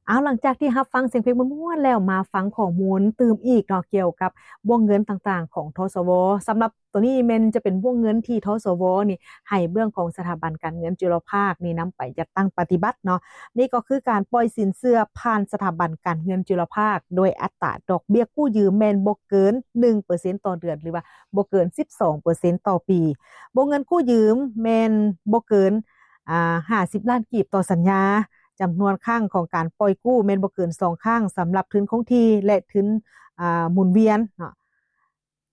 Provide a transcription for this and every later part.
ເອົາ ຫຼັງຈາກທີ່ຮັບຟັງສຽງເພງມ່ວນໆແລ້ວ ມາຟັງຂໍ້ມູນຕື່ມອີກເນາະ ກ່ຽວກັບວົງເງິນຕ່າງໆຂອງ ທສວ. ສຳລັບໂຕນີ້ແມ່ນຈະເປັນວົງເງິນທີ່ ທສວ ນີ້ໃຫ້ເບື້ອງຂອງສະຖາບັນການເງິນຈຸລະພາກນີ້ນຳໄປຈັດຕັ້ງປະຕິບັດເນາະ. ນີ້ກໍຄືການປ່ອຍສິນເຊື່ອຜ່ານສະຖາບັນການເງິນຈຸລະພາກ ໂດຍອັດຕາດອກເບ້ຍກູ້ຢືມແມ່ນບໍ່ເກີນໜຶ່ງເປີເຊັນຕໍ່ເດືອນ ຫຼືວ່າບໍ່ເກີນສິບສອງເປີເຊັນຕໍ່ປີ. ວົງເງິນກູ້ຢືມແມ່ນບໍ່ເກີນ ອ່າ ຫ້າສິບລ້ານກີບຕໍ່ສັນຍາ. ຈຳນວນຄັ້ງຂອງການປ່ອຍກູ້ແມ່ນບໍ່ເກີນສອງຄັ້ງ ສຳລັບທຶນຄົງທີ່ ແລະ ທຶນ ອ່າ ໝູນວຽນເນາະ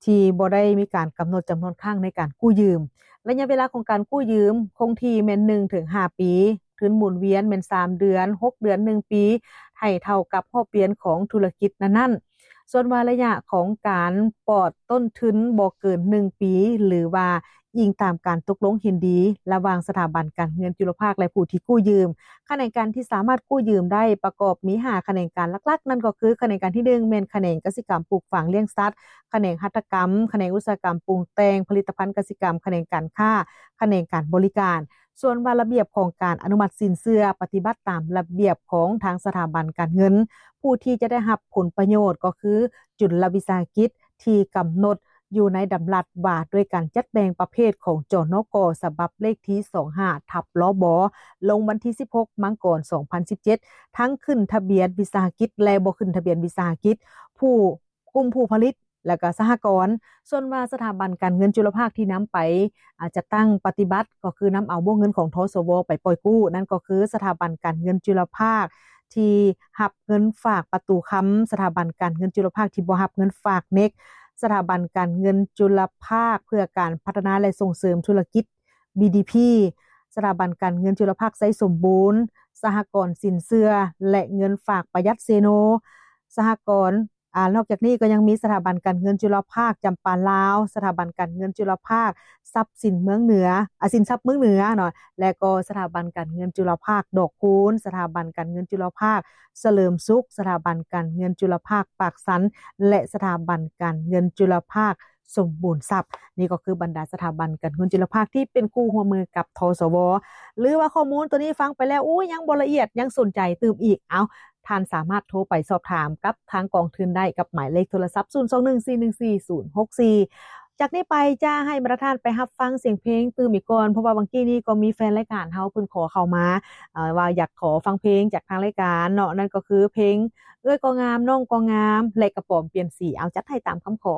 ທີ່ບໍ່ໄດ້ມີການກຳນົດຈຳນວນຄັ້ງໃນການກູ້ຢືມ. ໄລຍະເວລາຂອງການກູ້ຢືມຄົງທີ່ແມ່ນໜຶ່ງເຖິງຫ້າປີ, ທຶນໝູນວຽນແມ່ນສາມເດືອນ, ຫົກເດືອນ, ໜຶ່ງປີ, ໃຫ້ເທົ່າກັບຮອບປ່ຽນຂອງທຸລະກິດນັ້ນໆ. ສ່ວນວ່າໄລຍະຂອງການປອດຕົ້ນທຶນບໍ່ເກີນໜຶ່ງປີ ຫຼືວ່າ ອີງຕາມການຕົກລົງເຫັນດີລະຫວ່າງສະຖາບັນການເງິນຈຸລະພາກ ແລະ ຜູ້ທີ່ກູ້ຢືມ. ຂະແໜງການທີ່ສາມາດກູ້ຢືມໄດ້ປະກອບມີຫ້າຂະແໜງການຫຼັກໆ ນັ້ນກໍຄື ຂະແໜງການທີໜຶ່ງ ແມ່ນຂະແໜງກະສິກຳປູກຝັງລ້ຽງສັດ, ຂະແໜງຫັດຖະກຳ, ຂະແໜງອຸດສາຫະກຳປຸງແຕ່ງຜະລິດຕະພັນກະສິກຳ, ຂະແໜງການຄ້າ, ຂະແໜງການບໍລິການ. ສ່ວນວ່າລະບຽບຂອງການອະນຸມັດສິນເຊື່ອ ປະຕິບັດຕາມລະບຽບຂອງທາງສະຖາບັນການເງິນ. ຜູ້ທີ່ຈະໄດ້ຮັບຜົນປະໂຫຍດກໍຄື ຈຸລະວິສາຫະກິດ ທີ່ກຳນົດຢູ່ໃນດຳລັດວ່າດ້ວຍການຈັດແບ່ງປະເພດຂອງ ຈນກ ສະບັບເລກທີສອງຫ້າ ທັບ ລບ ລົງວັນທີສິບຫົກ ມັງກອນ ສອງພັນສິບເຈັດ ທັງຂຶ້ນທະບຽນວິສາຫະກິດ ແລະ ບໍ່ຂຶ້ນທະບຽນວິສາຫະກິດ, ຜູ້ ກຸ່ມຜູ້ຜະລິດ ແລະ ກໍສະຫະກອນ. ສ່ວນວ່າສະຖາບັນການເງິນຈຸລະພາກທີ່ນຳໄປ ອາ ຈັດຕັ້ງປະຕິບັດ ກໍຄືນຳເອົາວົງເງິນຂອງ ທສວ ໄປປ່ອຍກູ້ ນັ້ນກໍຄື ສະຖາບັນການເງິນຈຸລະພາກທີ່ຮັບເງິນຝາກປະຕູຄຳ, ສະຖາບັນການເງິນຈຸລະພາກທີ່ບໍ່ຮັບເງິນຝາກເນັກ, ສະຖາບັນການເງິນຈຸລະພາກເພື່ອການພັດທະນາ ແລະ ສົ່ງເສີມທຸລະກິດ ບີດີພີ, ສະຖາບັນການເງິນຈຸລະພາກໄຊສົມບູນ, ສະຫະກອນສິນເຊື່ອ ແລະ ເງິນຝາກປະຢັດເຊໂນ, ສະຫະກອນ ອາ ນອກຈາກນີ້ກໍຍັງມີສະຖາບັນການເງິນຈຸລະພາກຈຳປາລາວ, ສະຖາບັນການເງິນຈຸລະພາກຊັບສິນເມືອງເໜືອ ອາ ສິນຊັບເມືອງເໜືອເນາະ ແລະ ກໍສະຖາບັນການເງິນຈຸລະພາກດອກຄູນ, ສະຖາບັນການເງິນຈຸລະພາກສະເຫຼີມສຸກ, ສະຖາບັນການເງິນຈຸລະພາກປາກຊັນ ແລະ ສະຖາບັນການເງິນຈຸລະພາກສົມບູນຊັບ. ນີ້ກໍຄືບັນດາສະຖາບັນການເງິນຈຸລະພາກທີ່ເປັນຄູ່ຮ່ວມມືກັບ ທສວ. ຫຼືວ່າຂໍ້ມູນໂຕນີ້ຟັງໄປແລ້ວ ໂອ້ຍ ຍັງບໍ່ລະອຽດ ຍັງສົນໃຈຕື່ມອີກ ເອົ້າ ທ່ານສາມາດໂທໄປສອບຖາມກັບທາງກອງທຶນໄດ້ກັບໝາຍເລກໂທລະສັບ ສູນສອງໜຶ່ງ ສີ່ໜຶ່ງສີ່ ສູນຫົກສີ່. ຈາກນີ້ໄປຈະໃຫ້ບັນດາທ່ານໄປຮັບຟັງສຽງເພງຕື່ມອີກກ່ອນ ເພາະວ່າຫວ່າງກີ້ນີ້ກໍມີແຟນລາຍການເຮົາເພິ່ນຂໍເຂົ້າມາ ເອີ ວ່າຢາກຂໍຟັງເພງຈາກທາງລາຍການເນາະ ນັ້ນກໍຄືເພງເອື້ອຍກໍງາມ ນ້ອງກໍງາມ ແລະ ກະປອມປ່ຽນສີ. ເອົາ ຈັດໃຫ້ຕາມຄຳຂໍ.